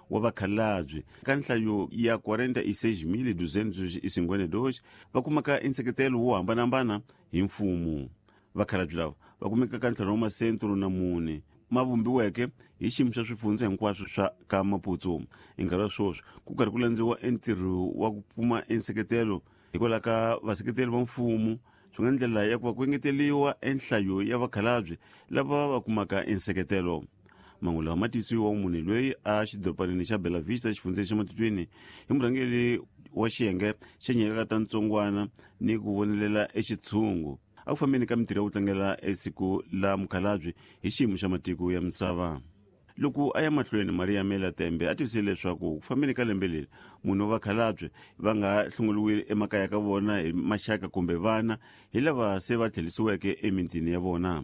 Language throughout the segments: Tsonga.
wa vakhalabye ka nhlayo ya 46252 va kumaka enseketelo wo hambanahambana hi mfumo. Vakhalabye lava va kumeka ka ntlhanu wa masentro na mune ma vumbiweke hi xiyimo xa swifundza hinkwaswo swa ka Maputo. Hi nkarhi wa sweswi ku karhi ku landziwa entirho wa ku pfuma enseketelo hikwalaho ka vaseketeri va mfumo, swi nga ndlela ya ku va ku engeteriwa enhlayo ya vakhalabye lava va kumaka enseketelo. Mahungu lawa ma tiyisiwa munhu loyi a xidorobanini xa Bela Vista xifundzeni xa Matutuini hi murhangeri wa xiyenge xa nyikaka ta ntsongwana ni ku vonelela exitshungu a ku fambeni ka mintirho ya ku tlangela esiku la mukhalabye hi xiyimo xa matiko ya misava. Loko a ya mahlweni, Maria Mela Tembe a tivisile leswaku ku fambeni ka lembe leri munhu wa vakhalabye va nga hlongoliwile emakaya ka vona hi maxaka kumbe vana hi lava se va tlherisiweke emitini ya vona.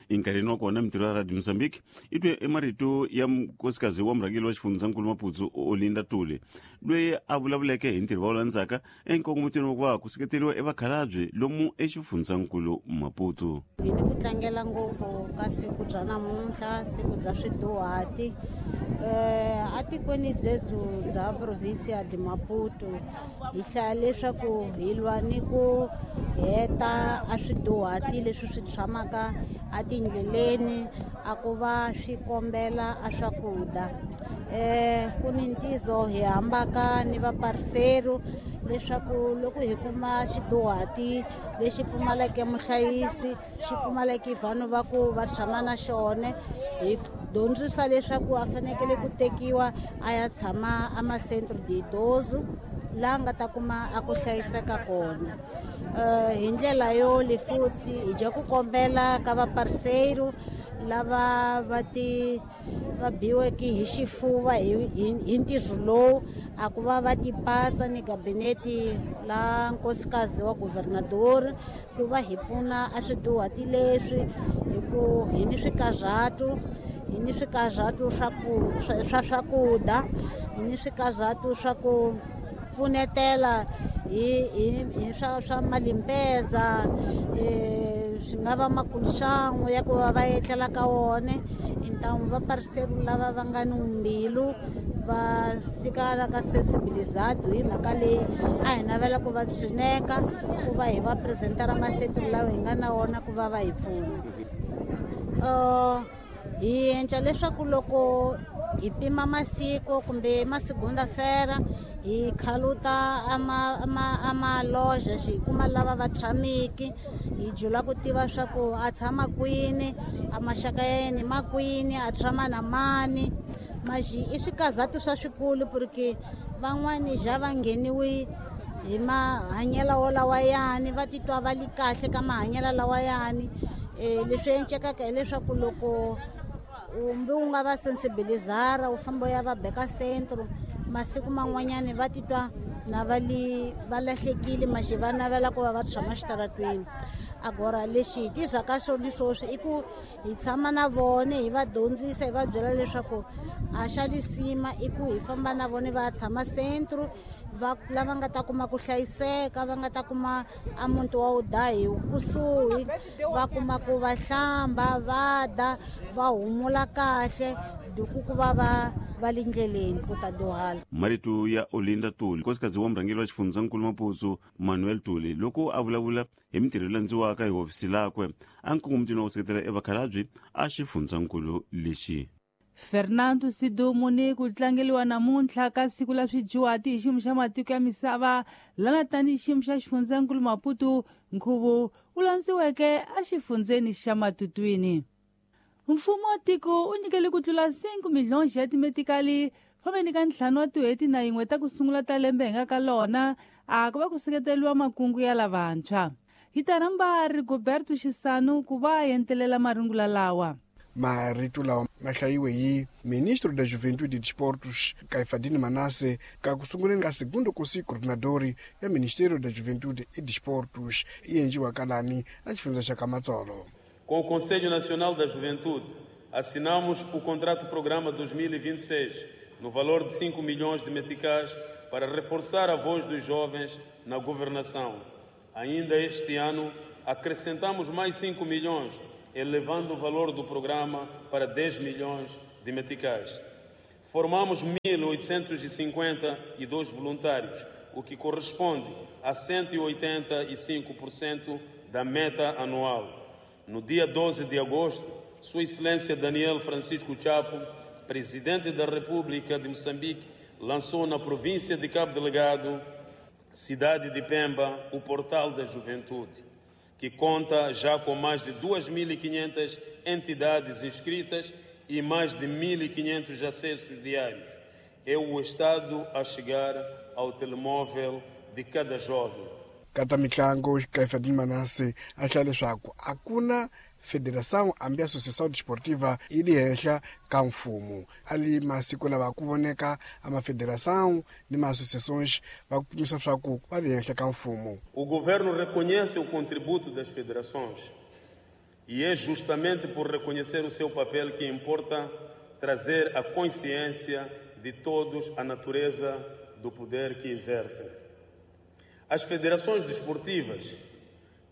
Enkarhini wa kona, mintirho ya Radio Mozambique i twe emarito ya nkosikazi wa murhangeri wa xifundzankulu Maputo, Olinda Tuli, loyi a vulavuleke hi ntirho va wu landzaka enkongometweni wa ku va ku seketeriwa evakhalabye lomu exifundzankulu Maputo. Hi ni ku tlangela ngopfu ka siku bya namuntlha, siku bya swiduhati atikweni dzezu bya provinsia de Maputo. Hi hlaya leswaku hi lwa ni ku heta a swiduhati leswi swi tshamaka atindleleni a ku va swi kombela a swakudya. Ku ni ntizo hi hambaka ni vaparseru leswaku loko hi kuma xiduhati lexi pfumaleke muhlayisi, xi pfumaleke vanhu va ku va tshama na xona, hi dyondzisa leswaku a fanekele ku tekiwa a ya tshama a ma-centre de idoso laha nga ta kuma a ku hlayiseka kona. Hi ndlela yo le futhi hi dya ku kombela ka vaparseru lava va ti va biweke hi xifuva hi ntirho lowu a ku va va tipatsa ni gabinete la nkosikazi wa guvernador ku va hi pfuna a swiduhati leswi, hi ku hi ni swikarhatu, hi ni swikarhatu swa ku swa swakudya, hi ni swikarhatu swa ku pfunetela hi swa malimpeza, swi nga va makulxangu ya ku va va etlela ka wona. Intamu va parseru lava va nga ni mbilu va fika la ka sensibilizado hi mhaka leyi a hi navela ku va tshineka ku va hi va presentera masetulu lawa hi nga na wona ku va va hi pfuna. Hi endla leswaku loko hi pima masiku kumbe masigunda-fera hi khaluta a maloja xi kuma lava va tshamiki, hi jula ku tiva swa ku a tshama kwini, a maxaka ya yena ma kwini, a tshama na mani. Maxi i swikazatu swa swikulu porque van'wani ja va ngheniwi hi mahanyelo wolawayani, va titwa va li kahle ka mahanyelo lawayani. Leswi endlekaka hileswaku loko umbe u nga va sensibilizara u famba u ya va beka centro, masiku man'wanyani va titwa na va li va lahlekile, maxi va navela ku va va tshama xitaratweni. Agora lexi hi tizaka xona sweswi i ku hi tshama na vona, hi va dyondzisa, hi va byela leswaku a xa lisima i ku hi famba na vona va tshama centro, va lava nga ta kuma ku hlayiseka, va nga ta kuma a muti wa wu da hi kusuhi, va kuma ku va hlamba, va da, va humula kahle, duku ku va va va le ndleleni ku ta dyuhala. Marito ya Olinda Tuli, nkosikazi wa murhangeri wa xifundzankulu Maputo Manuel Tuli, loko a vulavula hi mintirho leyi landziwaka hi hofisi lakwe a nkongomitweni wa ku seketela evakhalabye a xifundzankulu lexi. Fernando Sidumo ni ku tlangeliwa namuntlha ka siku la swidyuhati hi xiyimo xa matiko ya misava lana tanihi xiyimo xa xifundzankulu Maputo, nkhuvo wu landziweke exifundzeni xa Matutuini. Mfumo wa tiko wu nyikele ku tlula 5 milhonji ya timetikali fambeni ka 5 wa tin'hweti na yin'we ta ku sungula ta lembe hi nga ka lona a ku va ku seketeriwa makungu ya lavantshwa. Hi ta rhamba Rigoberto Xisanu ku va a entelela marungula lawa. Marito lawa ma hlayiwe hi Ministro da Juventude e Desportos, Caifadine Manasse, ka ku sunguleni ka segundo Conselho Coordenador ya Ministério da Juventude e Desportos e endliwa kalani a xifundza xa ka Matsolo. Com o Conselho Nacional da Juventude, assinamos o contrato-programa 2026, no valor de 5 milhões de meticais, para reforçar a voz dos jovens na governação. Ainda este ano, acrescentamos mais 5 milhões, elevando o valor do programa para 10 milhões de meticais. Formamos 1.852 voluntários, o que corresponde a 185% da meta anual. No dia 12 de agosto, Sua Excelência Daniel Francisco Chapo, Presidente da República de Moçambique, lançou na província de Cabo Delgado, cidade de Pemba, o Portal da Juventude, que conta já com mais de 2.500 entidades inscritas e mais de 1.500 acessos diários. É o Estado a chegar ao telemóvel de cada jovem. Ka ta mitlangu, Caifadine Manasse a hlaya leswaku a ku na federação hambi associação desportiva yi le henhla ka mfumo. A li masiku lava ku voneka a mafederação ni ma-associações va kumisa swa ku va le henhla ka mfumo. O governo reconhece o contributo das federações e é justamente por reconhecer o seu papel que importa trazer a consciência de todos a natureza do poder que exercem. As federações desportivas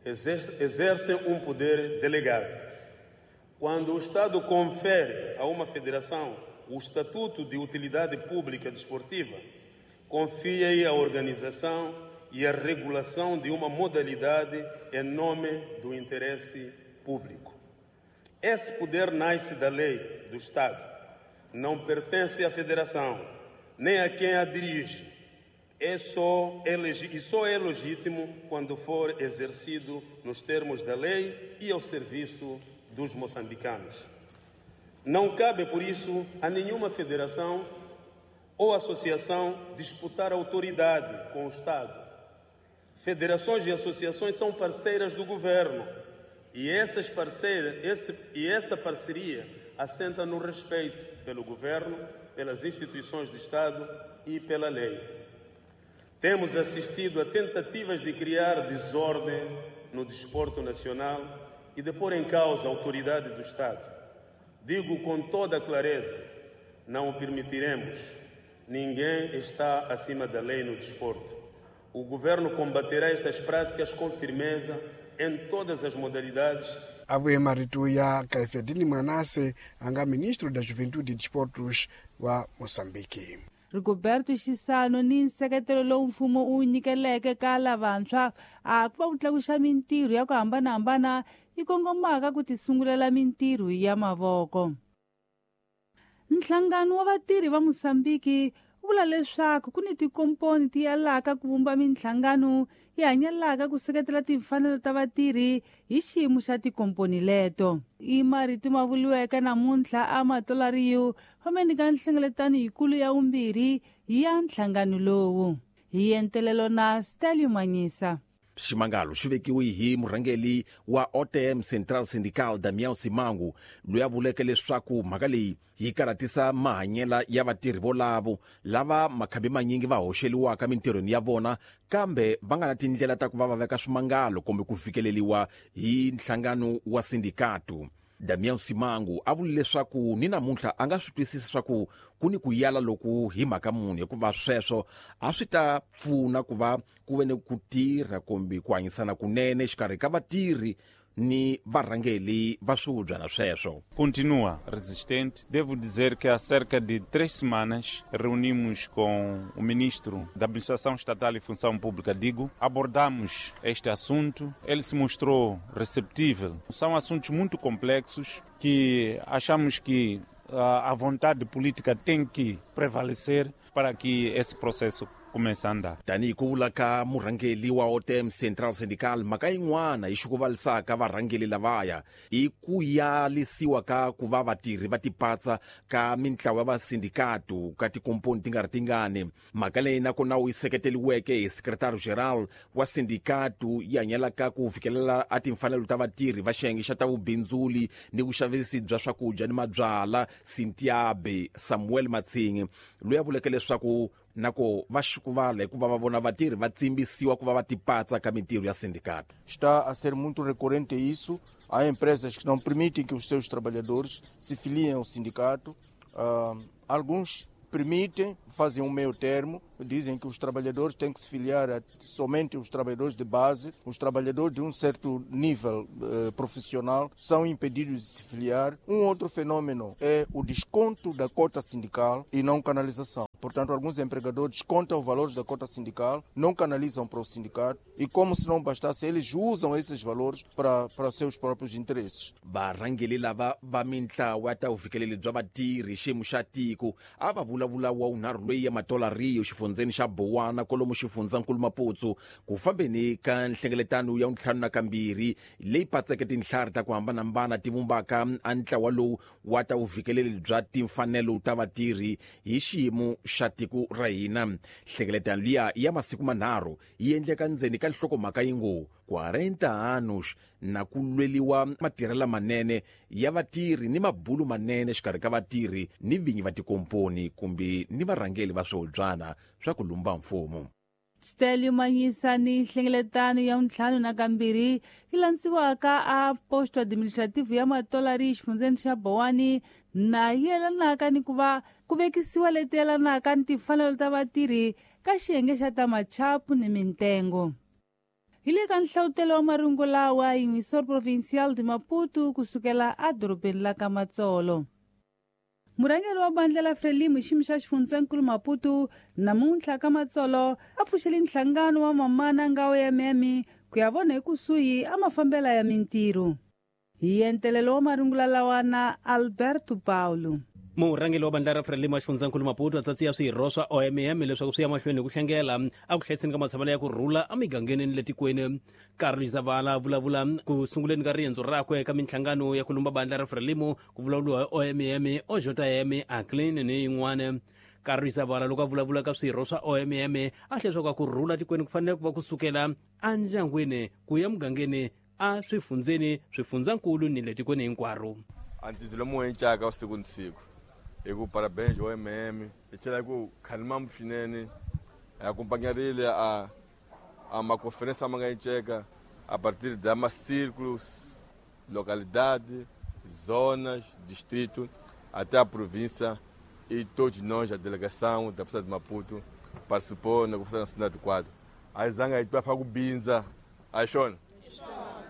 exercem um poder delegado. Quando o Estado confere a uma federação o estatuto de utilidade pública desportiva, confia-lhe a organização e a regulação de uma modalidade em nome do interesse público. Esse poder nasce da lei do Estado, não pertence à federação, nem a quem a dirige. E só é legítimo quando for exercido nos termos da lei e ao serviço dos moçambicanos. Não cabe, por isso, a nenhuma federação ou associação disputar autoridade com o Estado. Federações e associações são parceiras do governo e essa parceria assenta no respeito pelo governo, pelas instituições do Estado e pela lei. Temos assistido a tentativas de criar desordem no desporto nacional e de pôr em causa a autoridade do Estado. Digo com toda a clareza, não o permitiremos. Ninguém está acima da lei no desporto. O governo combaterá estas práticas com firmeza em todas as modalidades. A vuye marito ya Caifadine Manasse, a nga ministro da Juventude e Desportos wa Moçambique. Rigoberto Chissano ni nseketelo lowu mfumo wu nyikeleke ka lavantshwa a ku va ku tlakuxa mintirho ya ku hambanahambana yi kongomaka ku tisungulela mintirho ya mavoko. Nhlangano wa vatirhi va Mosambiki wu vula leswaku ku ni tikomponi ti yalaka ku vumba minhlangano yi hanyelaka ku seketela timfanelo ta vatirhi hi xiyimo xa tikomponi leto. I marito ma vuriweke namuntlha a Matolariyo fameni ka nhlengeletano yikulu ya vumbirhi ya nhlangano lowu. Hi entelelo na Stalio Manyisa. Ximangalo xi vekiwe hi murhangeri wa OTM Central Syndical Damião Simango, loyi a vuleke leswaku mhaka leyi yi karhatisa mahanyela ya vatirhi volavo lava makhambi manyingi va hoxeliwaka mintirhweni ya vona, kambe va nga na tindlela ta ku va va veka swimangalo kumbe ku fikeleliwa hi nhlangano wa sindikatu. Damião Simango a vule leswaku ni namuntlha a nga swi twisisi swa ku ku ni ku yala loku hi mhaka munhu, hikuva sweswo a swi ta pfuna ku va ku ve ni ku tirha kumbe ku hanyisana kunene xikarhi ka vatirhi ni varhangeri va swihubyana sweswo. Continua resistente. Devo dizer que há cerca de 3 semanas reunimos com o ministro da Administração Estatal e Função Pública, digo, abordamos este assunto. Ele se mostrou receptível. São assuntos muito complexos que achamos que a vontade política tem que prevalecer para que esse processo comece a andar. Tanihi ku vula ka murhangeri wa OTM Central Syndical, mhaka yin'wana yi xukuvalisaka varhangeri lavaya i ku yalisiwa ka ku va vatirhi va tipatsa ka mintlawa ya vasindikatu ka tikomponi ti nga ri tingani. Mhaka leyi nakona wu yi seketeriweke hi secretary general wa sindikatu yi hanyelaka ku fikelela a timfanelo ta vatirhi va xiyenge xa ta vubindzuli ni vuxavisi bya swakudya ni mabyala, Sintiabe Samuel Matsingi, loyi a vuleke leswaku nako va xukuvala hikuva va vona vatirhi va tsimbisiwa ku va va tipatsa ka mintirho ya sindicato. Está a ser muito recorrente isso. Há empresas que não permitem que os seus trabalhadores se filiem ao sindicato. Alguns permitem, fazem um meio termo, dizem que os trabalhadores têm que se filiar a somente os trabalhadores de base, os trabalhadores de um certo nível profissional são impedidos de se filiar. Um outro fenômeno é o desconto da cota sindical e não canalização. Portanto, alguns empregadores descontam os valores da cota sindical, não canalizam para o sindicato e, como se não bastasse, eles usam esses valores para seus próprios interesses. Varhangeri lava va mintlawa ta vufikeleli bya vatirhi xiyimo xa tiko a va vulavula wa wunharhu loyi ya Matola Rio xifundzeni xa Bowana kwalomu xifundzankulu Maputo ku fambeni ka nhlengeletano ya 52 leyi patseke tinhlari ta ku hambanahambana ti vumbaka a ntlawa lowu wa ta vufikeleli bya timfanelo ta vatirhi hi xiyimo xa tiko ra hina. Nhlengeletano liya ya masiku manharhu yi endleka ndzeni ka nhlokomhaka yi ngo 40 anos na ku lweliwa matirhelo manene ya vatirhi ni mabulu manene xikarhi ka vatirhi ni vinyi va tikomponi kumbe ni varhangeli va swihobyana swa ku lumba mfumo. Stelio Manyisa ni nhlengeletano ya 52 yi landziwaka a posto administrative ya Matola xifundzeni xa Bowani na yelanaka ni ku va ku vekisiwa leti yelanaka ni timfanelo ta vatirhi ka xiyenge xa ta machapu ni mintengo. Hi le ka nhlawutelo wa marungu lawa Emissor Provincial de Maputo kusukela edorobeni la ka Matsolo. Murhangeri wa bandla la Frelimo xiyimo xa xifundzankulu Maputo namuntlha ka Matsolo a pfuxele nhlangano wa mamana nga OMM ku ya vona ekusuhi a mafambela ya mintirho. Hi entelelo wa marungula lawa na Alberto Paulo. Murhangeri wa bandla ra Frelimo xifundzankulu Maputo a tsatsiya swirho swa OMM leswaku swi ya mahlweni hi ku hlengela a ku hlayiseni ka matshamelo ya ku rhula emigangeni ni le tikweni. Carlos Zavala vulavula ku sunguleni ka riendzo rakwe ka minhlangano ya ku lumba bandla ra Frelimo ku vulavuriwa hi OMM, OJM, ACLIN ni yin'wana. Carlos Zavala loko a vulavula ka swirho swa OMM a hlaya leswaku ku rhula tikweni ku fanele ku va kusukela endyangwini ku ya mugangeni a swifundzeni swifundzankulu ni le tikweni hinkwaro. Antizilo muencaka usiku ni siku hi ku parabéns OMM hi tlhela ku khalimambu swinene hi acompanharile a maconferência ma nga enceka a partir da ma círculos, localidade, zonas, distrito até a província e todos nós, a delegação da província de Maputo participou na Conferência Nacional de Quadro. A zanga yi pa ku bindza a xona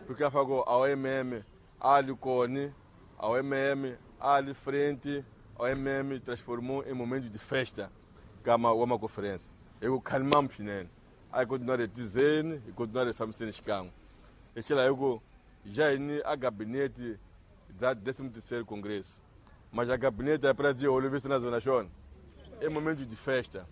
porque a fago a OMM ali cone, a OMM ali frente, a OMM transformou em momento de festa kama uma conferência. Eu calmam swinene. Aí continuar dizendo e continuar fazendo xikan'we. Hi tlhela hi ku já hi a gabinete da 13º Congresso. Mas a gabinete é para dizer olovisa na zona xona. É momento de festa.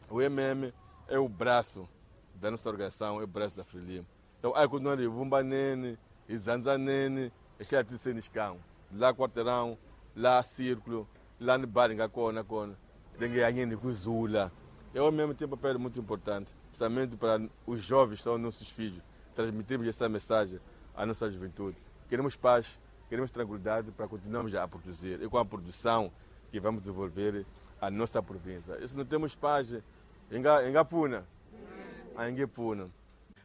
O MM é o braço da nossa organização, é o braço da Frelimo. Então aí continuar vumbanene, izanzanene, hi tlhela tiseni xikan'we. Lá quarteirão, lá círculo, lá no bar nga kona kona. Denge yangeni kuzula. É ao mesmo tempo um papel muito importante, principalmente para os jovens que são nossos filhos, transmitirmos essa mensagem à nossa juventude. Queremos paz, queremos tranquilidade para continuarmos a produzir e com a produção que vamos desenvolver a nossa província. E se não temos paz, engapuna, engapuna.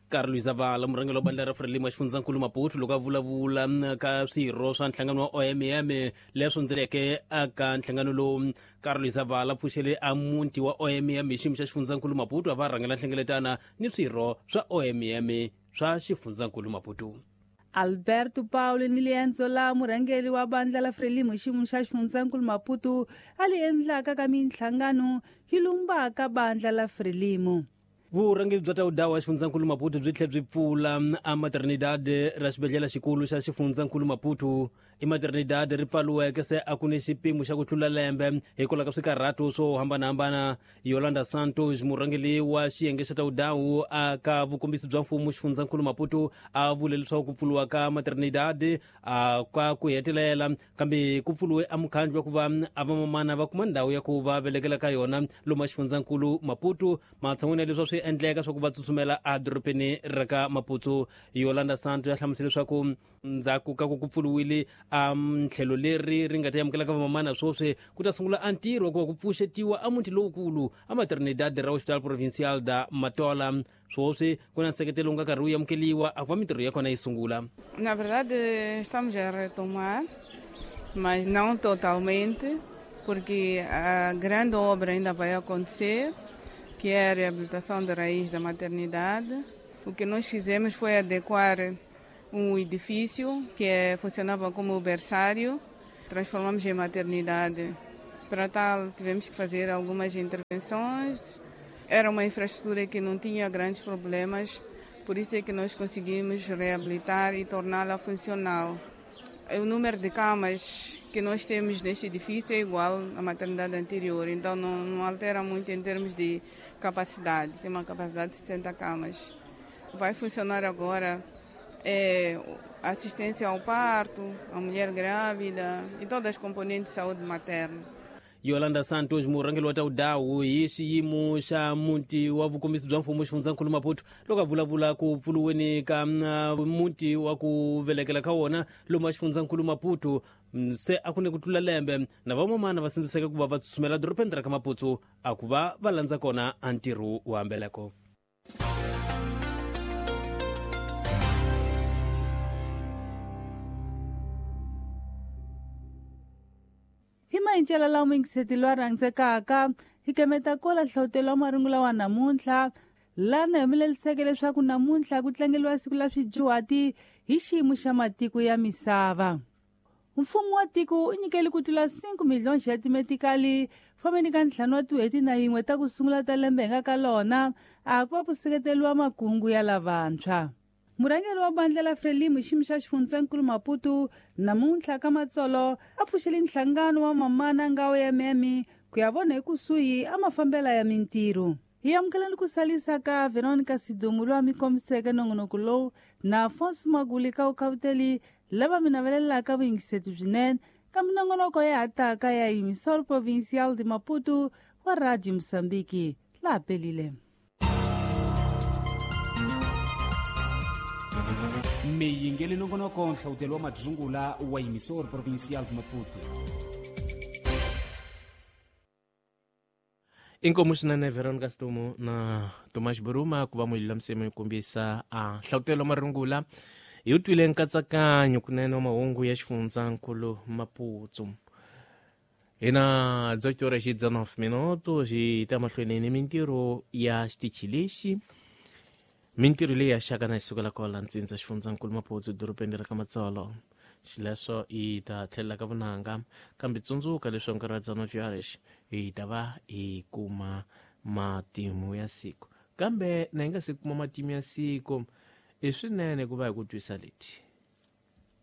Carlos Zavala murhangeri wa bandla ra Frelimo xifundzankulu Maputo loko a vulavula ka swirho swa nhlangano wa OMM leswi ndzeleke aka nhlangano lowu. Carlos Zavala pfuxele a muti wa OMM hi xiyimo xa xifundzankulu Maputo a va rhangela nhlengeletana ni swirho swa OMM swa xifundzankulu Maputo. Alberto Paulo ni liendzo la murhangeri wa bandla la Frelimo xiyimo xa xifundzankulu Maputo a li endlaka ka minhlangano yi lumbaka bandla la Frelimo. Vurhangeri bya tawudawa xifundzankulu Maputo byi tlhela byi pfula a Maternidad ra xibedhlele xikulu xa xifundzankulu Maputo. I Maternidad ri pfaliweke se a ku ni xipimo xa ku tlula lembe hikwalaho ka swikarhato swo hambanahambana. Yolanda Santos murhangeri wa xiyenge xa tawudawu a ka vukombisi bya mfumo xifundzankulu Maputo a vule leswaku ku pfuriwa ka Maternidad a ka ku hetelela kambe ku pfuriwe a mukhandlu wa ku va a vamamana va kuma ndhawu ya ku va velekela ka yona lomu xifundzankulu Maputo matshan'wini ya leswi swi endleka swa ku va tsutsumela edorobeni ra ka Maputo. Yolanda Santos ya hlamusela leswaku ndzhaku ka ku pfuriwile a ntlhelo leri ri nga ta amukela ka vamamana sweswi ku ta sungula a ntirho wa ku va ku pfuxetiwa a muti lowukulu a Maternidad ra Hospital Provincial da Matola. Sweswi ku na nseketelo wu nga karhi wu amukeliwa a ku va mintirho ya kona yi sungula. Na verdade estamos a retomar, mas não totalmente. porque a grande obra ainda vai acontecer, que é a reabilitação da raiz da maternidade. O que nós fizemos foi adequar um edifício que funcionava como berçário, transformamos em maternidade. Para tal, tivemos que fazer algumas intervenções. Era uma infraestrutura que não tinha grandes problemas, por isso é que nós conseguimos reabilitar e torná-la funcional. O número de camas que nós temos neste edifício é igual à maternidade anterior, então não altera muito em termos de capacidade. Tem uma capacidade de 60 camas. Vai funcionar agora assistência ao parto, à mulher grávida e todas as componentes de saúde materna. Yolanda Santos murhangeri wa ta udawu hi xiyimo xa muti wa vukombisi bya mfumo xifundzankulu Maputo loko a vulavula ku pfuluweni ka muti wa ku velekela ka wona lomu xifundzankulu Maputo se a ku ni ku tlula lembe na vamamana va sindziseka ku va va tsutsumela dorobeni ra ka Maputo a ku va va landza kona a ntirho wa mbeleko. Hi mayincela lawa mingiseti lowa rhandzekaka hi kemeta kola hlavutelo wa marungula wa namuntlha lana hi humeleliseke leswaku namuntlha ku tlangeliwa siku la swidyuhati hi xiyimo xa matiko ya misava. Mfumo wa tiko u nyikele ku tlula 5 miliyoni ya timetikali fambeni ka 5 wa tin'hweti na yin'we ta ku sungula ta lembe hi nga ka lona a ku va ku seketeriwa makungu ya lavantshwa. Murhangeri wa bandla la Frelimo xiyimo xa xifundzankulu Maputo namuntlha ka Matsolo a pfuxele nhlangano wa mamana nga OMM ku ya vona ekusuhi a mafambela ya mintirho. Hi amukeleni ku salisa ka Veronica Sidumu lowa mi kombiseke nongonoko lowu na Afonso Maguli ka vukhavuteli lava mi navelelaka vuyingiseti byinene ka minongonoko ya hataka ya Emissora Provincial de Maputo wa Radio Moçambique. Laha pelile. Miyingeli nongonoko nhlawutelo wa madzungula wa Emissora Provincial de Maputo. Inkomu swinene Veronica Sidumu na Tomas Buruma ku va mululamisemi kombisa a nhlawutelo marungula hi twile nkatsakanyo kunene wa mahungu ya xifundzankulu Maputo. Hina Dr. Xidzanoff Minoto xi ta mahlweni ni mintirho ya xitichi lexi. Mintirho leyi ya xaka na yi sukela kwala ntsindza xifundzankulu Maputo dorobeni ra ka Matsolo. Xileswo hi ta tlhelela ka vunanga kambe tsundzuka leswaku nkarhi wa dzana lexi hi ta va hi kuma matimu ya siku. Kambe na hi nga se kuma matimu ya siku i swinene ku va hi ku twisa leti.